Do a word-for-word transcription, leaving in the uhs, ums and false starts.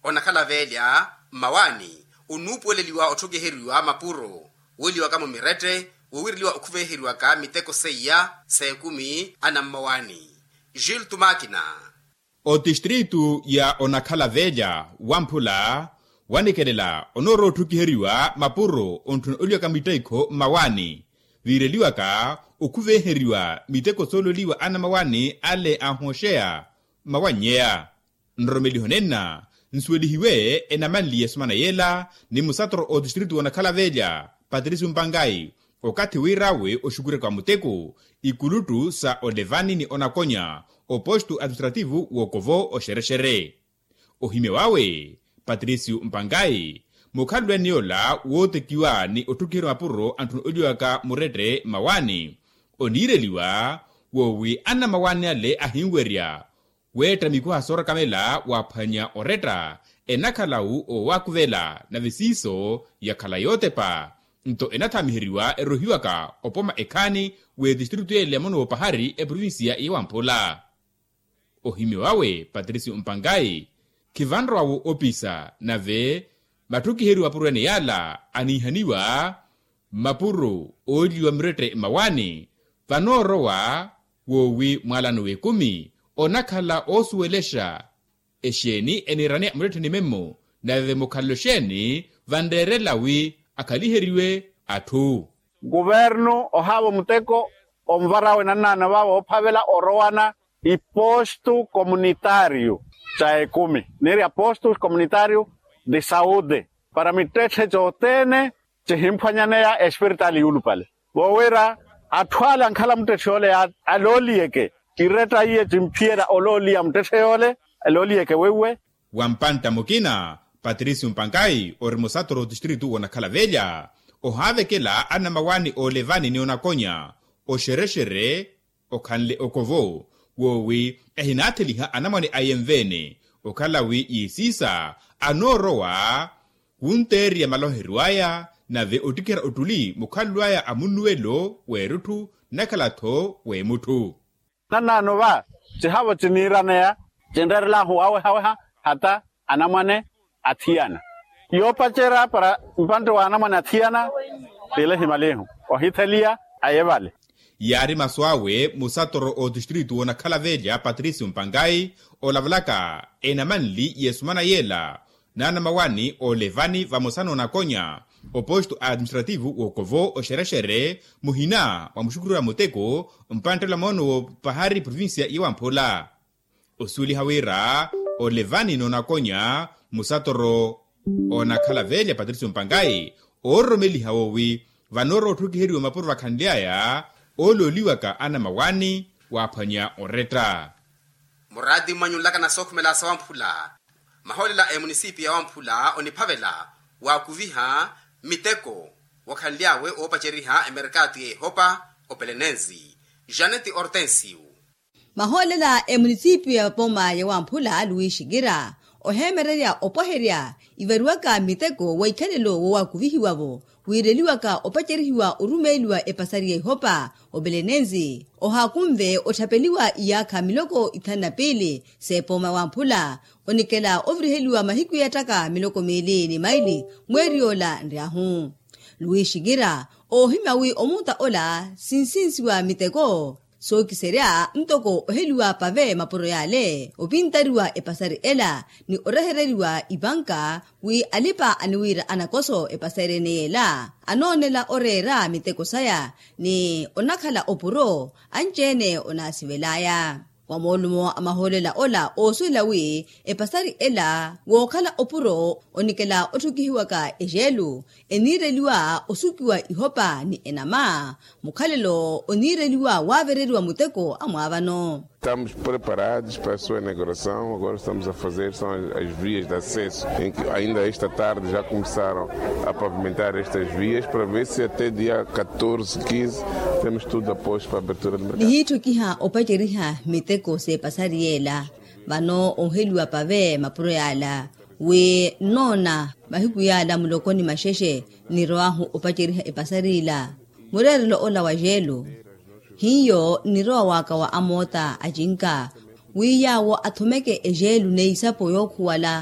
Onakhala veelya mmawaani onuupuweleliwa otthukiheriwa mapuro wooliwaka mumirette wowiireliwa okhuveheriwaka miteko seiya s'ekumi anammawaani. Jule tumakina. Otistritu ya onakhala veelya wamphula wanikelela onoorowa otthukiheriwa mapuro ontthuna oliwaka mittekho mmawaani viireliwaka okhuveheriwa miteko soololiwa anammawaani ale ahoxeya. Mmawannyeya nroromeliho nenna nsuwelihiwe enamanliye esumana yeela ni musatoro otistritu wonakhala veelya patricio mpangai okathi wiirawe oxukuryaka wa muteko ikuluttu sa olevani ni onakonya opostu administrativu w'okovo oxerexere. Ohimya wawe patricio mpangai mukhalulwani yoola wootekiwa ni otthukiheriwa mapuro antthuna oliwaka murette mmawaani oniireliwa woowi anammawaani ale ahinwerya weetta mikuha soorakamela waaphwanya oretta enakhala-wu owaakuvela nave siiso yakhala yootepa nto enathamiheriwa erohiwaka opoma ekhaani w'etistritu yeela ya mono w'opahari eprovinsiya ya wamphula. Ohimya wawe patricio mpangai khivanrowa-wo opisa nave matthukiheriwa mapuro ene yaala aniihaniwa mmapuro ooliwa murette mmawaani vanoorowa woowi mwaalano w'ekumi onakhala oosuwelexa exeeni eniiraneya murette ni memmo nave mukhalelo xeeni vanreerela wi akhaliheriwe atthu. Kuvernu ohaavo muteko onvarawe nannaano vaavo oophavela orowana ipostu komunitaariyu ca ekumi niiri apostu komunitaariyu de saude para mittetthe cothene cihimphwanyaneya espiritaali yuulupale voowira atthu ale ankhala muttetthe yoole alooliyeke iretta iye cimphiyerya olooliya muttetthe yoole alooliyeke weiwe. Wa mpantta mukina patricio mpankayi ori musatoro otistritu wonakhala velya ohaavekela anamawaani oolevani ni onakonya oxerexere okhanle okovo woowi ehinaatheliha anamwane aye nveene okhala wi yiisiisa anoorowa khunteeriya maloheryo aya nave ottikhera ottuli mukhalelo aya a munnuwelo w'erutthu nnakhala-tho w'emutthu. Nannaano va cihaavo ciniiraneya cinreerelaahu waawehaweha hata anamwane athiyana yoopacerya para mpantte wa anamwane athiyana. Tile himalihu ohitheliya aye vale. Yaari masu awe musatoro otistritu wonakhala velya patricio mpankayi olavalaka enamanli y'esumana yeela n'anamawaani oolevani vamosa n'onakonya oposto administrativu w'okovo oxerexere muhina mwa muxukhurira muteko mpanttela moono w'opahari provincia ya wamphula. Osuweliha wira olevani noonakonya musatoro oonakhala velya patricio mpankayi oororomeliha woowi vanoorowa otthukiheriwa mapuro vakhanly'aya oolooliwaka anamawaani waaphwanya oretta. Muraati mmwanyunlaka na sookhumela sa wamphula mahoolela a emunisipiyu ya wamphula oniphavela waakuviha miteko wakhanly'awe oopaceriha emerkaatu y'ehopa opelenensi janeti ortensiyu. Mahoolela emunisipiyu ya poma ya wamphula luwixikira oheemererya opwaherya ivariwaka miteko wa ikhalelo wowakuvihiwa-vo wiireliwaka opacerihiwa orumeeliwa epasari ya ihopa opelenensi ohaakunve otthapeliwa iyaakha miloko ithanu na piili s'epoma wamphula onikela oviriheliwa mahiku yeettaka miloko miili ni maili mweeri yoola nryahu. Luwixikira oohimya wi omuuta ola sinsinsiwa miteko sookiserya ntoko oheliwa pave mapuro yale opintariwa epasari ela ni orehereriwa ipanka wi alipa aniwiira anakoso epasari ene yela anoonela oreera miteko saya ni onakhala opuro anci-ene onaasivelaya. Wa moolumo a mahoolela ola oosuwela wi epasari ela wookhala opuro onikela otthukihiwaka ejeelu eniireliwa osukiwa ihopa ni enama mukhalelo oniireliwa waavereriwa muteko amwaavano. Estamos preparados para a sua inauguração agora estamos a fazer são as vias de acesso em que ainda esta tarde já começaram a pavimentar estas vias para ver se até dia catorze quinze temos tudo a posto para abertura de mercado. Nihiitthukiha opaceriha miteko s'epasari yeela vano ooheliwa pave mapuro yaala wi nnoona mahiku yaala muloko ni maxexe nnirowaahu opaceriha epasari ila mureerelo ola wa jeelu hiyo nnirowa waka wa amoota acinka wi yaawo athomeke ejeelu n'eisapo yookhuwala.